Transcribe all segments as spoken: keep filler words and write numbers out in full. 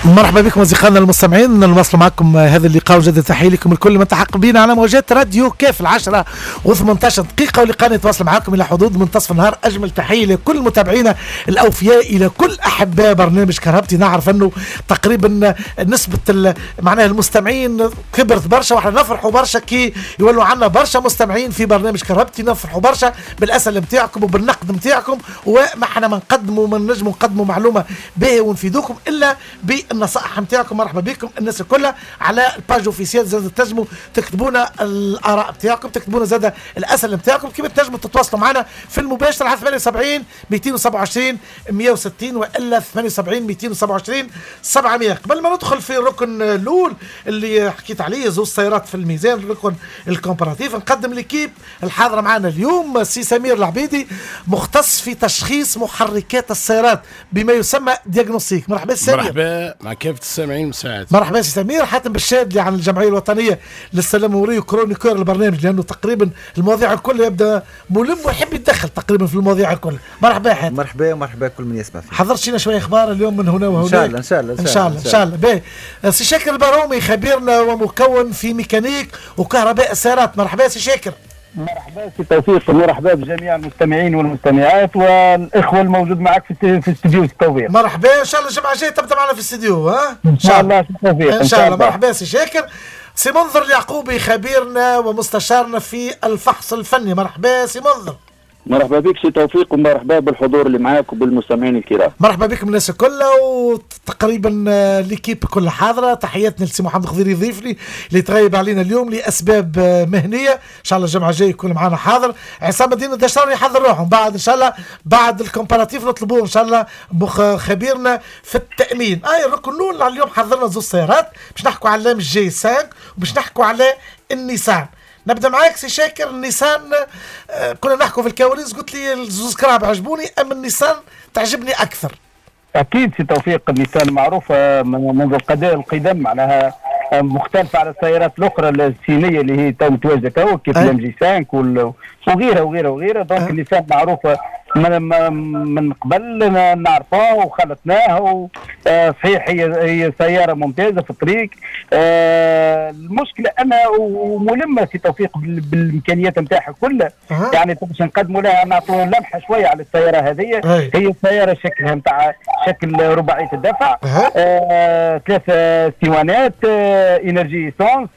مرحبا بكم اصدقائنا المستمعين، نواصل معكم هذا اللقاء وجد تحية لكم الكل من تحق بنا على موجات راديو كاف العشرة وثمانية عشر دقيقه، ولقاء نتواصل معكم الى حدود منتصف النهار. اجمل تحية لكل متابعينا الاوفياء، الى كل احباء برنامج كرهبتي. نعرف انه تقريبا نسبه معناها المستمعين كبرت برشا، واحنا نفرحوا برشا كي يولوا عندنا برشا مستمعين في برنامج كرهبتي. نفرحوا برشا بالاسئلة نتاعكم وبالنقد نتاعكم، وما احنا ما نقدموا ما نجموا نقدموا معلومة باهيه ونفيدوكم الا بالنصائح نتاعكم. مرحبا بكم الناس الكل على ال page officielle، زاد تنجموا تكتبونا الاراء نتاعكم، تكتبونا زاد الاسئلة نتاعكم، كيما تنجموا تتواصلوا معنا في المباشر على ثمانية وسبعين مئتين وسبعة وعشرين مئة وستين والا ثمانية وسبعين مئتين وسبعة وعشرين سبعمية. قبل ما ندخل في الركن الاول اللي حكيت عليه، زوج سيارات في الميزان، الركن ال comparatif، نقدم l'équipe الحاضرة معنا اليوم. سي سمير العبيدي، مختص في تشخيص محركات السيارات بما يسمى diagnostic. مرحبا سي سمير. مرحبا مع كافة السامعين مساعد. مرحبا سي سمير. حاتم بالشادلي عن الجمعية الوطنية للسلامة المروريه، chroniqueur البرنامج، لانه تقريبا المواضيع الكل يبدا ملم ويحب يتدخل تقريبا في المواضيع الكل. مرحبا حاتم. مرحبا ومرحبا كل من يسمع فيك. حضرت لنا شوية اخبار اليوم من هنا وهناك؟ ان شاء الله، ان شاء الله. ان شاء الله، ان شاء الله. باهي. سي شاكر البرومي، خبيرنا ومكون في ميكانيك وكهرباء السيارات. مرحبا سي شاكر. مرحبا سي توفيق، ومرحبا بجميع المستمعين والمستمعات والاخوة الموجود معك في في الاستوديو سي توفيق. مرحبا، ان شاء الله الجمعة الجاية تبدا معنا في الاستوديو ها. ان شاء الله سي توفيق. ان شاء الله. مرحبا سي شاكر. سي منذر اليعقوبي، خبيرنا ومستشارنا في الفحص الفني. مرحبا سي منذر. مرحبا بك سي توفيق، ومرحبا بالحضور اللي معاك وبالمستمعين الكرام. مرحبا بكم الناس الكل، وتقريبا l'équipe كلها حاضره. تحياتنا لسي محمد خضيري ضيفني اللي تغيب علينا اليوم لاسباب مهنيه، ان شاء الله الجمعة الجاية يكون معنا حاضر. عصام الدين الدشراني يحضر روحه بعد، ان شاء الله بعد ال comparatif نطلبوه ان شاء الله خبيرنا في التامين. اي الركن الاول اليوم حضرنا زوج سيارات، باش نحكوا على ال MG خمسة وباش نحكوا على النيسان. نبدا معاك سي شاكر. النيسان، آه، كنا نحكوا في الكواليس، قلت لي الزوز كراهب عجبوني، اما النيسان تعجبني اكثر. اكيد سي توفيق، النيسان معروفة منذ القدم، معناها مختلفة على السيارات الأخرى الصينية اللي هي تو متواجدة تو كيف ال MG خمسة وغيرها وغيرها وغيرها. donc النيسان معروفة من من قبل، نعرفوها وخلطناها. صحيح هي هي سيارة ممتازة في الطريق. آه، المشكلة أنا وملمة سي توفيق بالإمكانيات نتاعها كلها، يعني باش نقدموا لها نعطوا لمحة شوية على السيارة هذه. هي سيارة شكلها نتاع شكل رباعية الدفع، آه، ثلاثة سيوانات، آه، énergie essence،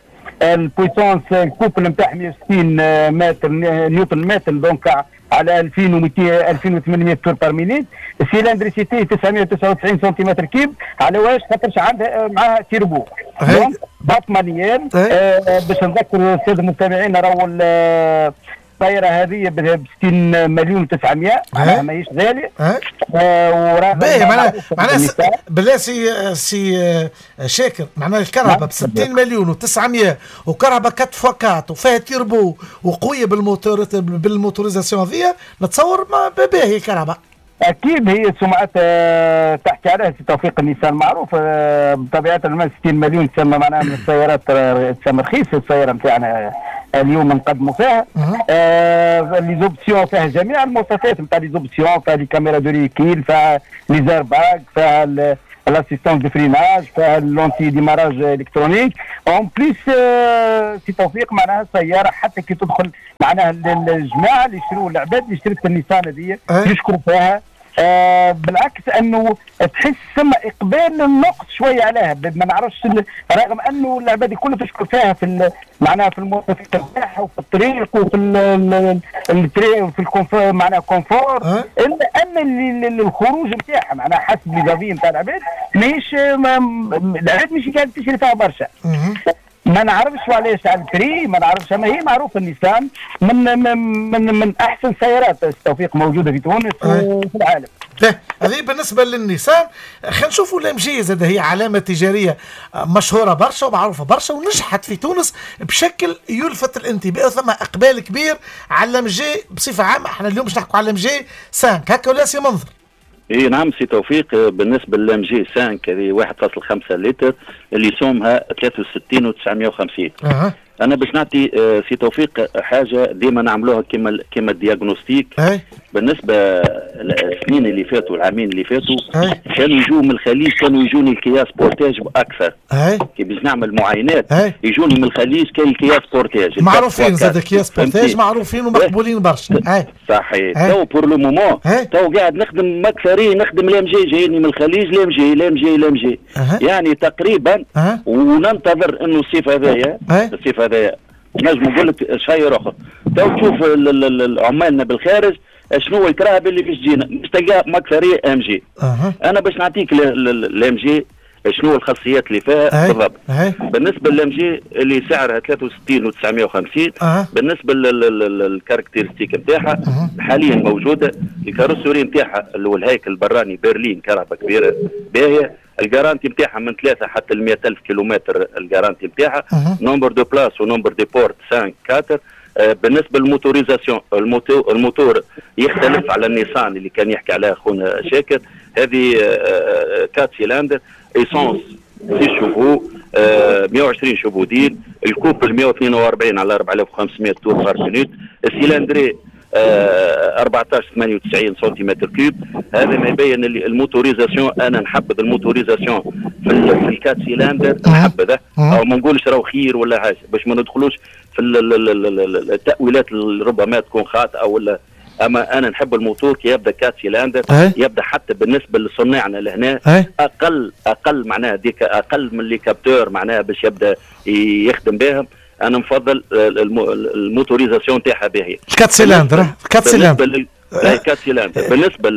ال puissance ال couple نتاعها مية وستين متر نيوتن متر، donc على ألفين ومئتين ألفين وثمانمية tours par minute، cylindricité تسعمية وتسعة وتسعين centimètres cubes. على واش؟ خاطرش عندها معاها turbo، donc boîte manuelle. آه باش نذكر السادة المستمعين، راهو السيارة هذه ب ستين مليون وتسعمية، معناها ماهيش غالية. آه باهي، معناها معناها بالله سي سي شاكر، معناها الكرهبة ب ستين مليون وتسعمية وكرهبة quatre fois quatre وفيها تيربو وقوية بالموتور بال motorisation هذيا، نتصور ما باهي الكرهبة. اكيد هي سمعتها تحكي عليها سي توفيق. النيسان معروف آه، بطبيعة المال، ستين مليون تسمى معناها من السيارات تسمى رخيصة السيارة نتاعنا اليوم نقدموا فيها. آه les options، فيها جميع المواصفات نتاع les options، فيها les caméras de recul، فيها les airbags، فيها l'assistance de freinage، فيها l'anti-démarrage électronique. en plus سي توفيق، معناها السيارة حتى كي تدخل، معناها الجماعة اللي يشتروا، العباد اللي اشترت النيسان هذه يشكروا فيها. آه بالعكس، انه تحس ثم اقبال النقص شوية عليها، ما نعرفش، رغم انه العباد كلها تشكر فيها في معناها في المواصفات نتاعها وفي الطريق وفي الطريق وفي ال confort، معناها confort، الا ان الخروج نتاعها معناها حسب les avis نتاع العباد ماهيش، العباد مش قاعدة تشري فيها برشا. ما نعرفش علاش على ال prix، ما نعرفش. اما هي معروفه، النيسان من من من, من احسن سيارات التوفيق موجودة في تونس وفي العالم. هذه بالنسبة للنيسان. خلينا نشوفوا ال MG زاد، هي علامة تجارية مشهورة برشا ومعروفة برشا ونجحت في تونس بشكل يلفت الانتباه، ثم اقبال كبير على ال MG بصفة عامه. احنا اليوم باش نحكوا على ال MG خمسة، هكا ولا سي منذر؟ اي نعم سي توفيق. بالنسبة لل MG خمسة هذه واحد فاصل خمسة لتر اللي سومها ثلاثة وستين وتسعمية وخمسين. أه. انا باش نعطي آه، سي توفيق حاجة ديما نعملوها كما كما ال diagnostic. أه. بالنسبة للسنين اللي فاتوا، العامين اللي فاتوا، كانوا يجوا من الخليج، كانوا يجوني الكيا سبورتاج باكثر. كي باش نعمل معاينات يجوني من الخليج كان الكيا سبورتاج معروفين، زاد كيا سبورتاج معروفين ومقبولين برشا. صحيح. تو pour le moment تو قاعد نخدم مكثرين، نخدم ال MG جايني من الخليج، ال MG ال MG ال MG يعني تقريبا. وننتظر انه الصيف هذايا، الصيف هذايا نجم نقول لك شيء اخر. تو تشوف عمالنا بالخارج شنو الكراهب اللي باش تجينا، باش تلقى مكثريه MG. أه. انا باش نعطيك ال MG شنو الخاصيات اللي فيها بالضبط. أه. بالنسبة لل MG اللي سعرها ثلاثة وستين وتسعمية وخمسين. أه. بالنسبة لل caractéristiques نتاعها أه. حاليا موجودة ال carrosserie نتاعها اللي هو الهيكل البراني berline، كرهبه كبيرة باهيه. ال garantie نتاعها من ثلاثة حتى ل مئة ألف كيلومتر ال garantie نتاعها. nombre de places و nombre de portes خمسة أربعة. بالنسبة لل motorisation، ال moteur ال moteur يختلف على النيسان اللي كان يحكي عليها خونا شاكر. هذه quatre cylindres essence six chevaux، مئة وعشرين chevaux DIN، ال couple مئة واثنين وأربعين على أربعة آلاف وخمسمئة tours par minute، ال cylindrée أربعة عشر ثمانية وتسعين centimètres cubes. هذا ما يبين اللي ال motorisation، انا نحبذ ال motorisation في في ال quatre cylindres نحبذه، او ما نقولش راهو خير ولا حاجة باش ما ندخلوش في التاويلات اللي ربما تكون خاطئه ولا. اما انا نحب الموتور كي يبدا quatre cylindres يبدا حتى بالنسبة لصناعنا لهنا اقل اقل معناها ديك اقل من les capteurs معناها باش يبدا يخدم بهم. انا نفضل ال motorisation تاعها باهيه. quatre cylindres quatre cylindres quatre cylindres. بالنسبة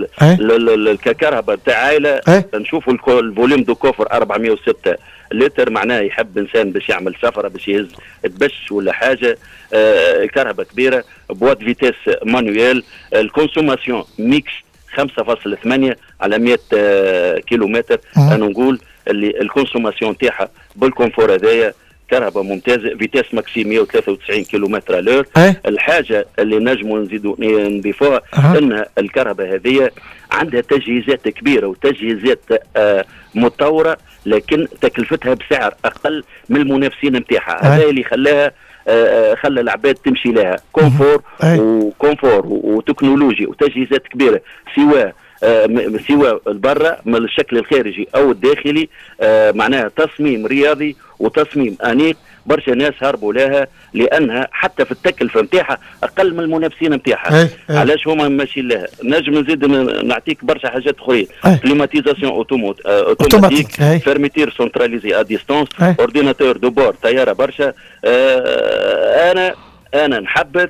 للكهرباء تاع عائلة نشوفوا ال volume de coffre أربعمئة وستة لتر، معناه يحب انسان باش يعمل سفره باش يهز دبش ولا حاجة. آه كهرباء كبيرة، boîte vitesses manuelle، ال consommation mixte خمسة فاصلة ثمانية على مئة آه كيلومتر. انا نقول اللي ال consommation تاعها بال confort هذايا كهرباء ممتازة، vitesse maxi مئة وثلاثة وتسعين كيلومتر à l'heure. الحاجة اللي نجموا نزيدوا نضيفوها أه. ان الكهرباء هذه عندها تجهيزات كبيرة وتجهيزات آه متطورة، لكن تكلفتها بسعر اقل من المنافسين نتاعها. هذا اللي خلاها آه خلى العباد تمشي لها. confort و confort وتكنولوجيا وتجهيزات كبيرة، سواء آه سواء البرة من الشكل الخارجي او الداخلي، آه معناها تصميم رياضي وتصميم انيق. برشا ناس هربوا لها لانها حتى في التكلفة نتاعها اقل من المنافسين نتاعها. علاش هما ماشيين لها؟ نجم نزيد نعطيك برشا حاجات اخرين. climatisation automatique، fermeture centralisée à distance، ordinateur de bord طيارة برشا. آه انا انا نحبذ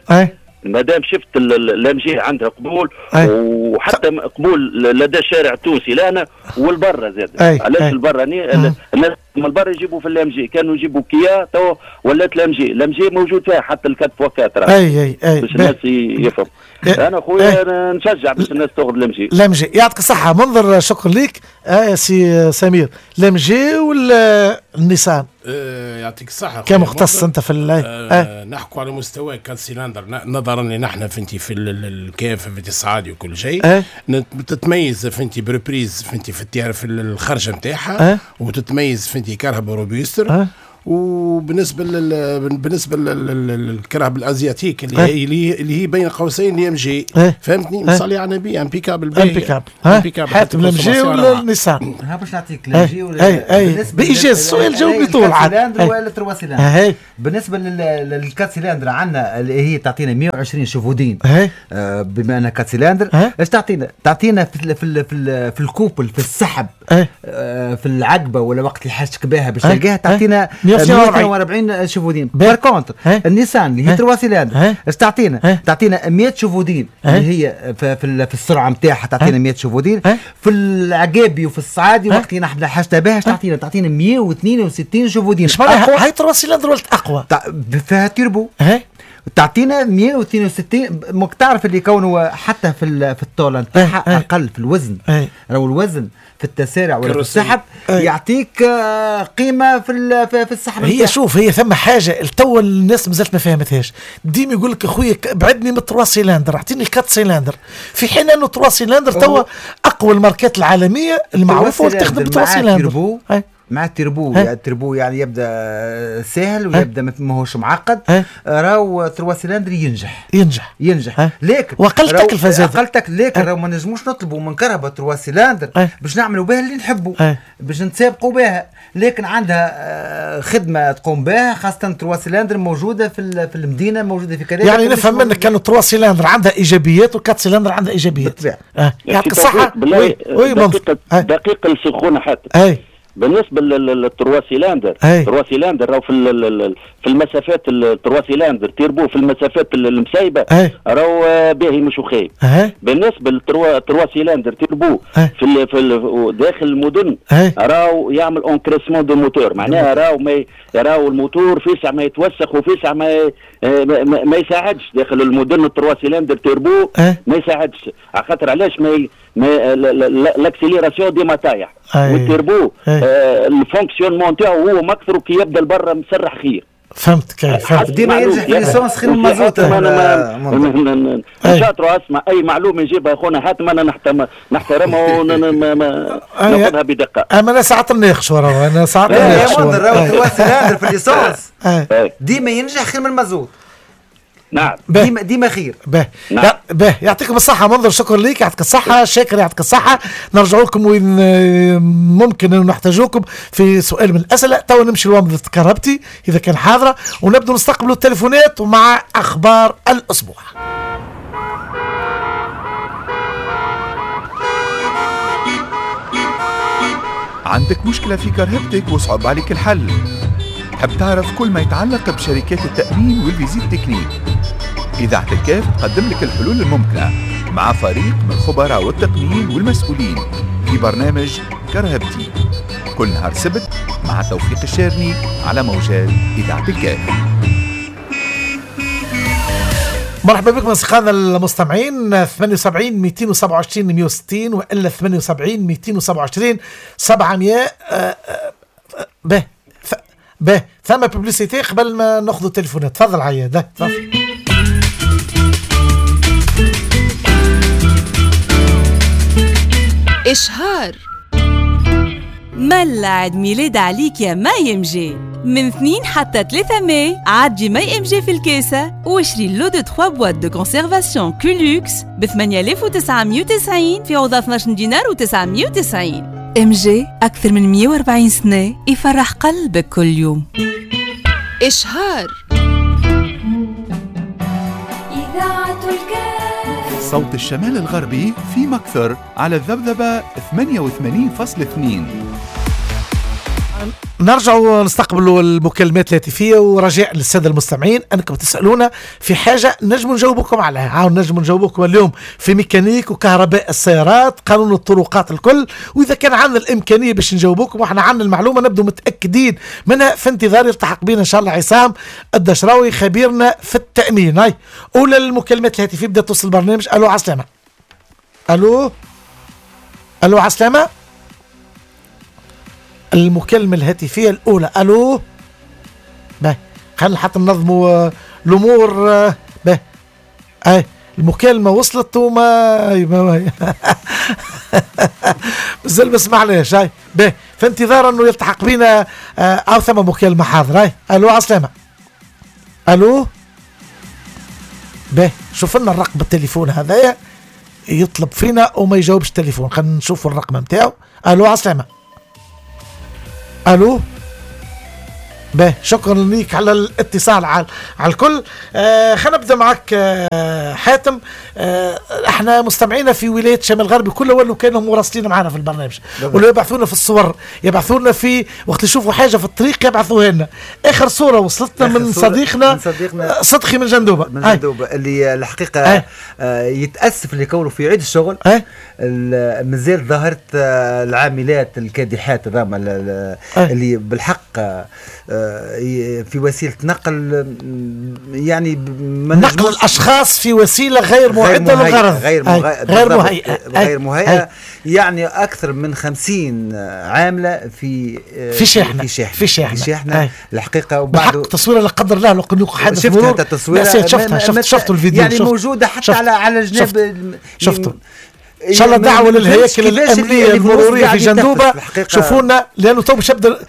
ما دام شفت ال MG عندها قبول، وحتى قبول لدى الشارع التونسي لنا والبرة زاد. علاش البرة؟ الناس من البرة يجيبوا في ال MG، كانوا يجيبوا كيا تو ولات ال MG، ال MG موجود فيها حتى ال quatre fois quatre. اي اي اي باش الناس يفهم. انا خويا نشجع باش الناس تاخذ ال MG. ال MG يعطيك الصحة منظر، شكرا لك آه سي سمير. ال MG ولا النيسان؟ آه يعطيك الصحة كمختص انت في آه آه. نحكوا على مستوى quatre cylindres، نظرا لان احنا فهمتي في الكاف في الصعادي وكل شيء آه. تتميز فهمتي ب reprise فهمتي في في الخرجة نتاعها آه. وتتميز فهمتي كرهبة robuste آه. وبالنسبة لل بالنسبة للكرهبة ال asiatique اللي هي اللي هي بين قوسين ال MG، فهمتني؟ مصلي على النبي impeccable impeccable impeccable. حاتم ال MG ولا النيسان؟ ها باش نعطيك ال MG ولا اي اي بايجاز السؤال جاوبني طول عاد. ولا trois cylindres. بالنسبة لل quatre cylindres عندنا اللي هي تعطينا مئة وعشرين chevaux DIN، بما انها quatre cylindres ايش تعطينا؟ تعطينا في في في, في ال couple في السحب في العقبة ولا وقت اللي حاجتك بها باش تلقاها تعطينا مئة وأربعين chevaux DIN. par contre النيسان اللي هي trois cylindres اش تعطينا؟ تعطينا مئة chevaux DIN اللي هي في, في السرعة نتاعها تعطينا مئة chevaux DIN. في العقابي وفي الصعادي وقت اللي نحن حاجتها بها اش تعطينا؟ تعطينا مئة واثنين وستين chevaux DIN. اش معناها هاي trois cylindres ولات اقوى؟ فيها تيربو تعطينا مئة واثنين وستين. ماك تعرف اللي كونه حتى في في الطولة نتاعها اقل في الوزن، راهو الوزن في التسارع ولا في السحب يعطيك قيمة في في السحب. هي شوف هي ثم حاجة تو الناس مازالت ما فهمتهاش، ديما يقول لك اخويا بعدني من trois cylindres اعطيني quatre cylindres، في حين انه trois cylindres توا اقوى الماركات العالمية المعروفة واللي تخدم ب trois cylindres. مع التربو يعني التربو يعني يبدا سهل ويبدا ماهوش معقد، راهو trois cylindres ينجح ينجح ينجح لكن واقل تكلفة زاد اقل تكلفة، لكن راهو ما نجموش نطلبوا من كرهبه trois cylindres باش نعملوا بها اللي نحبوا باش نتسابقوا بها، لكن عندها خدمة تقوم بها، خاصة trois cylindres موجودة في في المدينة، موجودة في كذا. يعني نفهم منك كانوا trois cylindres عندها ايجابيات و quatre cylindres عندها ايجابيات. بالطبيعة. يعطيك الصحة. دقيقة دقيقة السخونه حتى بالنسبة لل trois cylindres، trois cylindres راهو في في المسافات ال trois cylindres turbo في المسافات المسايبه راهو باهي مش خايب. بالنسبة لل trois trois cylindres turbo في في داخل المدن راهو يعمل encrassement de moteur، معناها راهو ما راهو الموتور فيسع ما يتوسخ وفيسع ما ما, ما يساعدش داخل المدن. ال trois cylindres turbo ما يساعدش، على خاطر علاش ما ما l'accélération ديما طايح، والتربو آه ال fonctionnement تاعو هو مكثر كي يبدا البرة مسرح خير. فهمت كيف؟ فهمت. ديما ينجح في l'essence خير من المازوت. نشاطروا اسمع اي معلومة يجيبها خونا حاتم انا نحترمها وناخذها بدقة. اما انا ساعات نناقش وراه، انا ساعات نناقش. يا منذر راهو trois cylindres في l'essence ديما ينجح خير من المازوت. نعم ديما ديما خير. به نعم. به يعطيكم الصحة منذر، شكرا ليك، يعطيك الصحة شاكر، يعطيك الصحة. نرجع لكم وين ممكن أن نحتاجوكم في سؤال من الأسئلة. تو نمشي لومضة كهربتي إذا كان حاضرة، ونبدأ نستقبلوا التليفونات ومع أخبار الأسبوع. عندك مشكلة في كرهبتك وصعب عليك الحل؟ تحب تعرف كل ما يتعلق بشركات التأمين وال visite technique؟ إذاعة الكاف تقدم لك الحلول الممكنة مع فريق من الخبراء والتقنيين والمسؤولين في برنامج كرهبتي، كل نهار سبت مع توفيق الشارني على موجات إذاعة الكاف. مرحبا بكم أصدقائنا المستمعين. ثمانية وسبعين مئتين وسبعة وعشرين مئة وستين وإلا ثمانية وسبعين مئتين وسبعة وعشرين سبعمئة. به به ثم publicité قبل ما ناخذ التليفونات. تفضل عياد، تفضل. إشهار ملا عيد ميلاد عليك يا ما يمجي، من اثنين حتى ثلاثة ماي عدي ما يمجي في الكاسة واشري lot de ثلاثة boîtes de conservation كولوكس ب ثمانية آلاف وتسعمية وتسعين في عوض اثناش دينار وتسعمية وتسعين. ام جي أكثر من مية وأربعين سنة يفرح قلبك كل يوم. إشهار إذاعة الكاف، صوت الشمال الغربي في مكثر على الذبذبة ثمانية وثمانين فاصلة اثنين. نرجع ونستقبل المكالمات الهاتفية، ورجاء للسادة المستمعين أنكم تسألونا في حاجة نجم نجاوبكم عليها. عاون نجم نجاوبكم اليوم في ميكانيك وكهرباء السيارات، قانون الطرقات الكل، وإذا كان عندنا الإمكانية باش نجاوبكم وإحنا عندنا المعلومة نبدو متأكدين منها. في انتظار يلتحق بنا إن شاء الله عصام الدشراوي خبيرنا في التأمين. هاي أولى المكالمات الهاتفية بدأت توصل البرنامج. ألو عسلامة. ألو ألو عسلامة. المكالمة الهاتفية الأولى. ألو. باهي خلينا حتى ننظموا الأمور. باهي أي المكالمة وصلت وما مازال ما سمعناش. هاي باهي في انتظار أنه يلتحق بنا أو ثم مكالمة حاضرة. هاي ألو عسلامة. ألو. باهي شوف لنا الرقم التليفون هذايا يطلب فينا وما يجاوبش التليفون، خلينا نشوفوا الرقم نتاعو. ألو عسلامة. الو. باهي شكرا ليك على الاتصال على, على الكل. آه خلينا نبدا معك آه حاتم. آه احنا مستمعينا في ولاية شمال الغربي كلها ولو كانوا مراسلين معنا في البرنامج، ولو يبعثونا في الصور، يبعثونا في وقت يشوفوا حاجة في الطريق يبعثوها لنا. اخر صوره وصلتنا من صورة صديقنا من صديقنا صدقي من جندوبه، من جندوبه اللي الحقيقة آه يتاسف لكونه في عيد الشغل مازال ظهرت العاملات الكادحات هذوما اللي بالحق في وسيلة نقل، يعني نقل الاشخاص في وسيلة غير معده للغرض، غير مهيئة، غير مهيئة، غير مهيئة. يعني اكثر من خمسين عامله في في شاحنة في شاحنة في شاحنة, في شاحنة. الحقيقة وبعد تصويره لا قدر الله لو كان حادث شفتها التصويره، شفتها شفت شفت الفيديو يعني شفت موجودة حتى شفت على على جناب شفته. ان شاء الله دعوه للهياكل الامنية المرورية في جندوبه شوفونا، لانه تو باش يبدا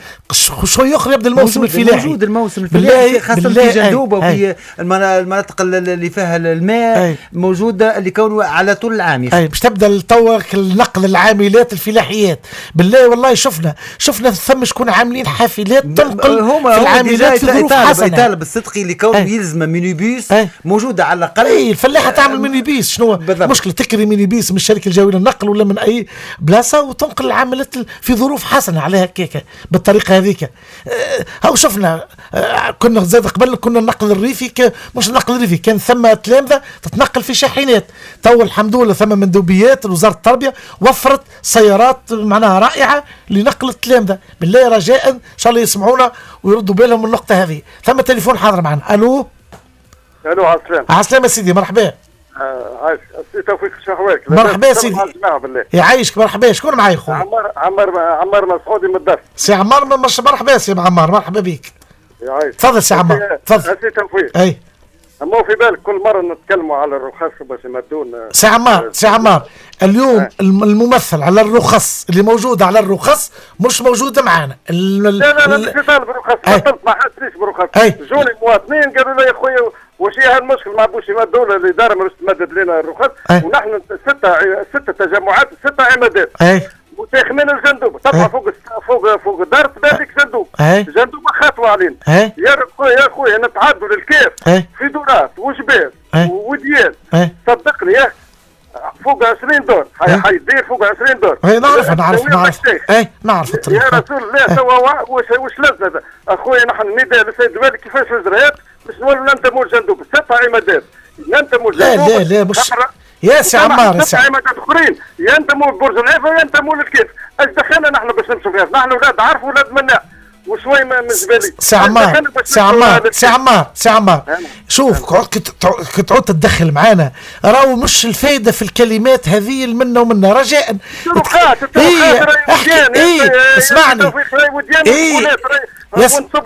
شوي اخر يبدا الموسم الفلاحي. موجود الموسم الفلاحي خاصة في جندوبه وفي المناطق اللي فيها الماء موجودة اللي كونه على طول العام. اي باش تبدا توا النقل العاملات الفلاحيات. بالله والله شفنا شفنا ثم شكون عاملين حافلات تنقل هما في العاملات في ظروف حسنه. يطالب الصدقي اللي كونه يلزم مينيبيس موجودة على الاقل. اي الفلاحة تعمل مينيبيس، شنو المشكلة؟ تكري مينيبيس من الشركة الجوية للنقل ولا من اي بلاصة وتنقل العاملات في ظروف حسنه عليها هكاك بالطريقة هذيك. هاو شفنا كنا زاد قبل كنا النقل الريفي، مش النقل الريفي كان ثم تلامذه تتنقل في شاحنات. تو الحمد لله ثم مندوبيات وزارة التربية وفرت سيارات معناها رائعة لنقل التلامذه. بالله رجاء ان شاء الله يسمعونا ويردوا بالهم من النقطة هذه. ثم تليفون حاضر معنا. الو الو عسلامة. عسلامة سيدي، مرحبا. عايش سي توفيق، شنو احوالك؟ مرحبا سيدي، يعيشك. مرحبا، شكون معايا خويا؟ عمار عمار عمار مسعودي من الدار. سي عمار مرحبا سي عمار، مرحبا بك. يعيشك. تفضل سي عمار، تفضل. سي توفيق. اي اما في بالك كل مرة نتكلموا على الرخص باش يمدون. سي عمار سي عمار اليوم الممثل على الرخص اللي موجودة على الرخص مش موجودة معانا. لا لا لا مش طالب رخص، بطلت ما حدش برخص. جوني مواطنين قالوا لي يا خويا وش هي هالمشكل ما بوش يمدوا الادارة مش تمدد لنا الرخص، ونحن ستة ستة تجمعات ستة عمادات متاخمين الجندوب، تطلع فوق فوق فوق الدار تبان لك جندوب، جندوب خطوة علينا. يا خويا يا خويا نتعدوا للكيف في دورات وجبال وديان، صدقني يا فوق عشرين دور حيدير فوق عشرين دور. اي نعرف نعرف نعرف اي نعرف الطريق. يا رسول الله توا واش واش لازم اخويا نحن نداء للسيد الوالي كيفاش الاجراءات باش نولوا ننتموا لجندوب ست عمادات ننتموا لجندوب. لا لا لا مش يا سي عمار، يا سي عمادات اخرين ينتموا لبرج العيفه وينتموا للكيف. اش دخلنا نحن باش نمشوا فيها؟ نحن اولاد عرف ولاد مناع وشوي من جبالي. سي عمار سي عمار سي عمار سي عمار شوف كي تعود تتدخل معانا راهو مش الفايدة في الكلمات هذه منا ومنا. رجاء الطرقات اي احكي اي اسمعني اي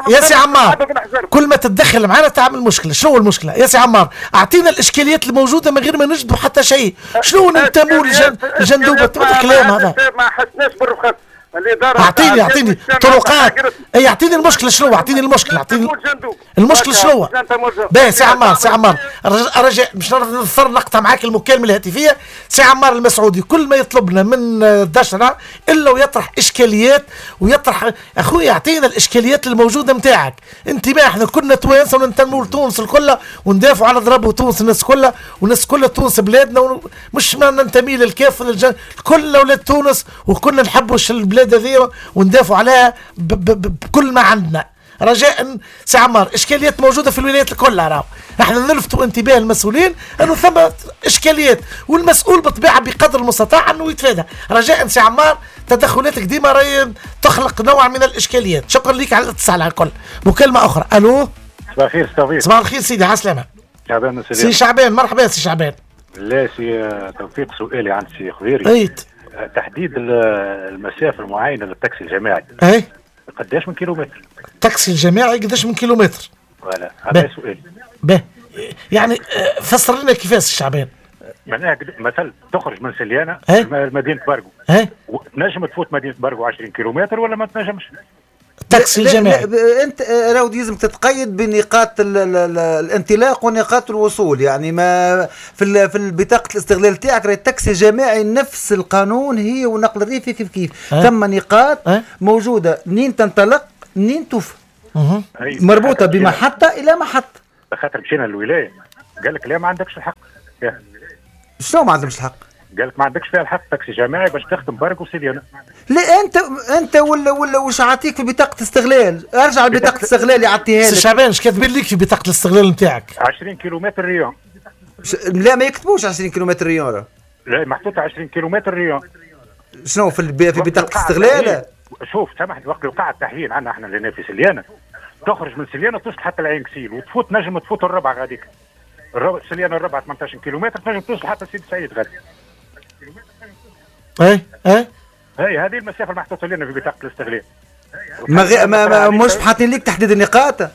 يا سي عمار، كل ما تتدخل معنا تعمل مشكلة. شنو المشكلة يا سي عمار؟ اعطينا الاشكاليات الموجودة من غير ما نجدوا حتى شيء. شنو ننتموا لجندوبه؟ الكلام هذا ما حسناش بالرخص. اعطيني اعطيني طرقات. اي اعطيني المشكلة شنو؟ اعطيني المشكلة، اعطيني المشكلة شنو؟ باهي سي عمار سي عمار رجاء مش نضطر نقطع معاك المكالمة الهاتفية. سي عمار المسعودي كل ما يطلبنا من دشره الا ويطرح اشكاليات ويطرح. اخويا اعطينا الاشكاليات الموجودة نتاعك. انتباه احنا كلنا توانسة وننتموا لتونس الكل وندافعوا على ضربوا تونس الناس كلها والناس كلها تونس بلادنا، مش ما ننتمي للكاف وللجن، كلنا ولاد تونس وكلنا نحبوا البلاد هذه وندافعوا عليها بكل ما عندنا. رجاء سي عمار اشكاليات موجودة في الولايات الكل، راهو نحن نلفتوا انتباه المسؤولين انه ثم اشكاليات والمسؤول بالطبيعة بقدر المستطاع انه يتفادى. رجاء سي عمار تدخلاتك ديما راهي تخلق نوع من الاشكاليات. شكرا لك على الاتصال على الكل. مكالمة اخرى. الو صباح الخير توفيق. صباح الخير سيدي، على السلامة. شعبان سي, سي شعبان. مرحبا سي شعبان. لا سي توفيق، سؤالي عند سي خضيري. ايت تحديد المسافة المعينة للتاكسي الجماعي. اي قداش من كيلومتر؟ التاكسي الجماعي قداش من كيلومتر؟ voilà هذا سؤالي. به يعني فسر لنا كيفاش الشعبان. معناها مثلا تخرج من سليانه لمدينة بارغو، تنجم تفوت مدينة بارغو عشرين كيلومتر ولا ما تنجمش؟ التاكسي الجماعي انت راهو لازم تتقيد بنقاط ال ال الانطلاق ونقاط الوصول، يعني ما في في بطاقة الاستغلال تاعك راهي التاكسي الجماعي نفس القانون هي والنقل الريفي كيف كيف. أه؟ ثم نقاط أه؟ موجودة منين تنطلق منين توفى، مربوطة بمحطه الى محطة. خاطر مشينا للولاية قال لك لا ما عندكش الحق. شنو ما عندهمش الحق؟ قال لك ما عندكش فيها الحق تاكسي جماعي باش تخدم بارك وسيليانا. لا انت انت ولا ولا واش عاطيك في بطاقة استغلال؟ ارجع لبطاقه استغلال يعطيها لك. سي شعبان اش كاتبين لك في بطاقة الاستغلال نتاعك؟ عشرين كيلومتر rayon. لا ما يكتبوش عشرين كيلومتر rayon. لا محطوطة عشرين كيلومتر rayon. شنو في في بطاقة الاستغلال؟ شوف سامحني، وقت وقع التحيين عندنا احنا لهنا في سليانه، تخرج من سليانه توصل حتى العين كسيل وتفوت، نجم تفوت الربع غاديك. الربع سليانه الربع ثمنطاش كيلومتر تنجم توصل حتى سيدي سعيد غادي. اي اي هي هذه المسافة المحطوطه لنا في بطاقة الاستغلال. ما, غي... ما, ما مش حاطين لك تحديد النقاط؟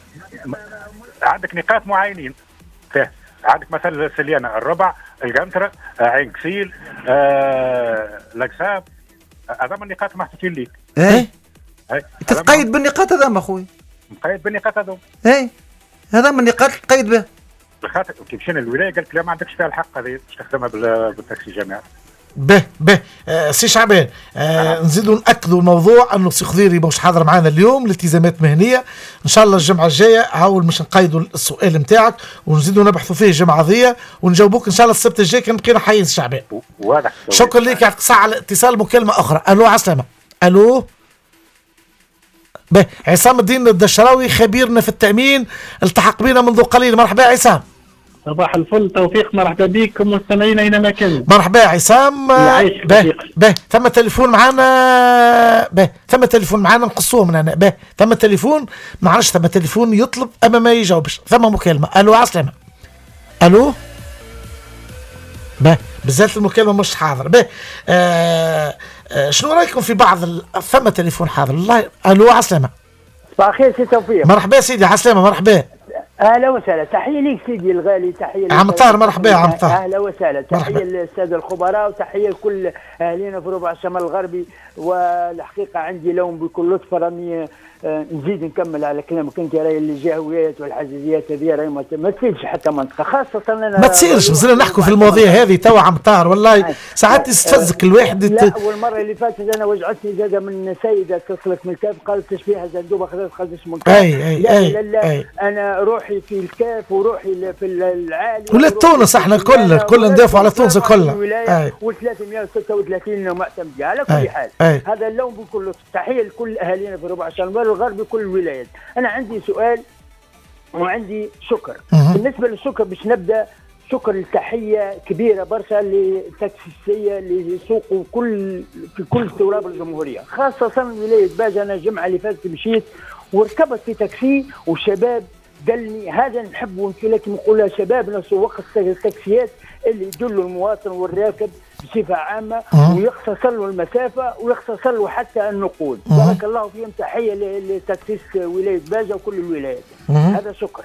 عندك نقاط معينين فيه. عندك مثلا سليانه الربع، القنطرة، عين كسيل، آه، الاقسام، هذا من النقاط المحطوطين ليك. اي تتقيد بالنقاط هذا ما خويا. مقيد بالنقاط هذو. اي هذا من النقاط تقيد به. خاطر كي مشينا للولاية قالت لا ما عندكش فيها الحق هذه باش تخدمها بالتاكسي جامعي. به به آه سي شعبان، آه نزيدوا ناكدوا الموضوع انه سي خضيري مش حاضر معنا اليوم لالتزامات مهنية، ان شاء الله الجمعة الجاية عاول مش نقيدوا السؤال نتاعك ونزيدوا نبحثوا فيه الجمعة ذي ونجاوبوك ان شاء الله السبت الجاي كان بقينا حيين سي شعبان. واضح. شكرا لك، يعطيك الصحة على الاتصال. مكالمة اخرى. الو عسلامة. الو به عصام الدين الدشراوي خبيرنا في التامين التحق بنا منذ قليل. مرحبا عصام. صباح الفل توفيق، مرحبا بكم مستمعين اينما كانوا. مرحبا عصام. به به ثم تليفون معانا. به ثم تليفون معانا نقصوه من هنا. به ثم تليفون ما عرفش، ثم تليفون يطلب اما ما يجاوبش. ثم مكالمة. الو عسلامة. الو به بالذات المكالمة مش حاضر. به آه آه شنو رايكم في بعض ال... ثم تليفون حاضر والله. الو عسلامة. صباح الخير سي توفيق. مرحبا سيدي عسلامة. مرحبا. اهلا وسهلا، تحية ليك سيدي الغالي، تحية عم طاهر. مرحبا عم طاهر. اهلا وسهلا، تحية للسادة الخبراء وتحية لكل اهالينا في ربع الشمال الغربي. والحقيقة عندي لوم بكل لطف، راني نزيد نكمل على كلامك انت، راهي الجهويات والحزازيات هذه راهي ما تفيدش حتى منطقة، خاصة انا ما تصيرش. مازلنا نحكوا في المواضيع هذه توا عم طاهر، والله ساعات يستفزك الواحد. لا والمرة اللي فاتت انا وجعتني زاده من سيده اتصلت من الكاف قالت تشبيهها زندوبه خذت خذت من الكاف. اي اي لا أي لا لا أي. انا روحي في الكاف وروحي في العالي ولا تونس، احنا الكل الكل ندافعوا على تونس الكل. و ثلاثمئة وستة وثلاثين معتمدة على كل حال. أي. هذا اللون بكل تحية لكل اهالينا في ربع الشمال الغربي كل الولايات. انا عندي سؤال وعندي شكر. مه. بالنسبة للشكر باش نبدا شكر التحية كبيرة برشا للتاكسيستيه اللي يسوقوا كل في كل تراب الجمهورية، خاصة ولاية باجه. انا الجمعة اللي فاتت مشيت وركبت في تاكسي وشباب دلني، هذا نحبه لكن نقولها شبابنا سواق التاكسيات اللي يدلوا المواطن والراكب بصفة عامة ويختصر له المسافة ويختصر له حتى النقود. بارك الله فيهم، تحية لتاكسيست ولاية باجه وكل الولايات. هذا شكر.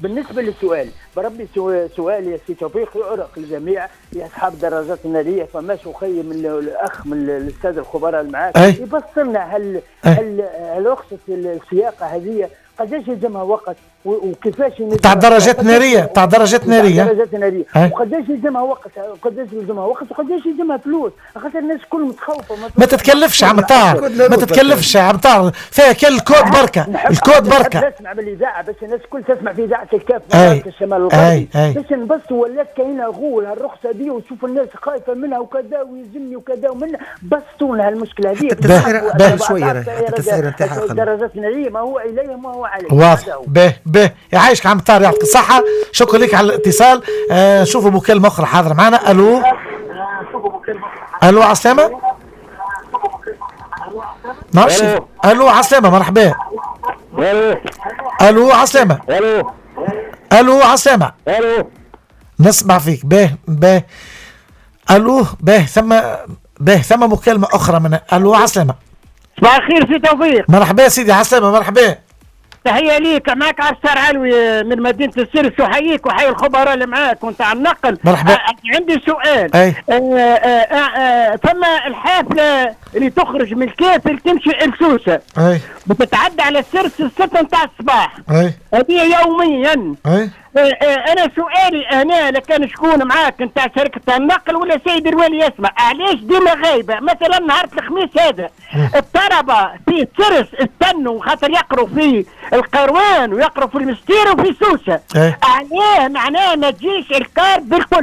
بالنسبة للسؤال بربي سؤال يا سي توفيق يعرق الجميع يا اصحاب الدراجات النارية، فماش خير من الاخ من الاستاذ الخبراء اللي معاك يبصرنا هل هل هل رخصه السياقه هذه قداش يلزمها وقت وكيفاش تاع درجات نارية، تاع درجات نارية، درجات نارية، وقداش يلزمها وقت، قداش يلزمها وقت وقداش يلزمها فلوس، خاطر الناس الكل متخوفه. ما تتكلفش عم طاهر، ما تتكلفش عم طاهر، فيها كان الكود بركة، الكود بركة. نسمع بالاذاعه باش الناس الكل تسمع في اذاعة الكاف الشمال الغربي، باش نبصوا ولات كاينه غول هالرخصه دي وتشوف الناس خايفة منها وكذا ويلزمني وكذا ومن بسطونا هالمشكلة هذه. التسعيره شوية، التسعيره نتاعها درجات نارية ما هو اليه ما هو عليه. واضح. به به يعيشك عم طارق، يعطيك الصحة، شكرا لك على الاتصال. آه شوفوا مكالمة أخرى حاضرة معنا. ألو ألو عسلامة. نعرفش. ألو عسلامة. مرحبا. ألو عسلامة. ألو عسلامة. نسمع فيك. به به ألو به ثم به ثم مكالمة أخرى من ألو عسلامة. صباح الخير سي توفيق. مرحبا سيدي عسلامة. مرحبا. تحية ليك، معك عسار علوي من مدينة السيرس، وحييك وحي الخبراء اللي معاك وانت على النقل. مرحبا. آه عندي سؤال. أي. آه آه آه ثم الحافلة اللي تخرج من الكاف اللي تمشي لسوسة بتتعدى على السرس الستة نتاع الصباح، هذه يوميا. أي. آه آه انا سؤالي هنا لكان شكون معاك نتاع شركة النقل ولا سيد الوالي يسمع، علاش ديما غايبة؟ مثلا نهار الخميس هذا الطلبة في السرس استنوا خاطر يقروا في القروان ويقروا في المستير وفي سوسة، علاه معناه ما تجيش الكار بالكل؟